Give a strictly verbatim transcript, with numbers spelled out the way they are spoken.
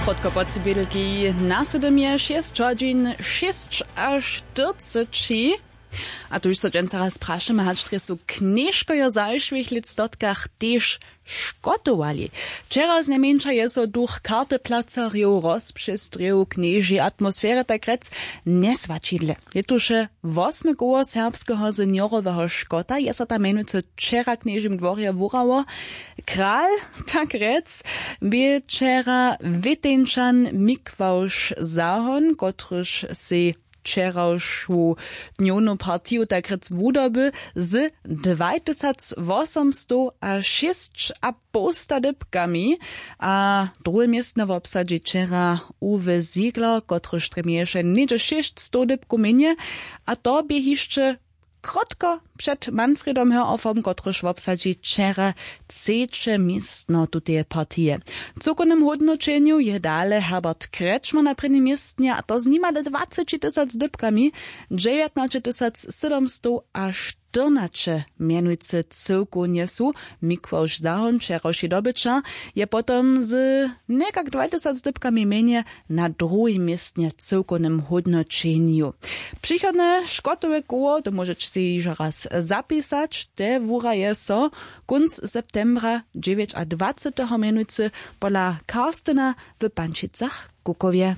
Krótko po cybědelki na sydom je šěsć hodźin šěsćaštyrceći. A tuž so dźensa raz prašamy, hač drje su knježkojo zašłych lětstotkach tež škotowali. Wčera znajmjeńša je so duch karteplacarjow rozpřestrěł w knježej atmosferje, tak rjec, njeswaćidle. Je tuž wosme koło serbskeho senioroweho škota, je so tam mjenujcy wčera w knježim dworje wurało. Kral, tak rjec, bě wčera wěteńčan Mikławš Zahon, kotryž sej wčerawšu dnjownu partiju, tak rjec, wudoby z dwajtysacwosemstowašěsćapołsta dypkami. A druhe městno wobsadźi wčera Uwe Ziegler, kotryž drje měješe něhdźe šěsćstow dypkow mjenje. A to bě hišće krótko před Manfredom Hörhoffom, kotryž wobsadźi wčera třeće městno tuteje partije. W cyłkownym hódnoćenju je dale Herbert Kretschmer na prěnim městnje, a to z nimadle dwaceći tysac dypkami. Dźewjatnaće tysac sydom stow a štyrnaće mjenujcy cyłkownje su. Mikławš Zahon, wčerawši dobyćer, je potom z někak dwaj tysac dypkami mjenje na druhim městnje w cyłkownym hódnoćenju. Přichodne škotowe koło, to móžeće sej hižo raz zapisać, te wuraje so kónc septembra dźewjećadwaceteho mjenujcy pola Karstena w Pančicach-Kukowje.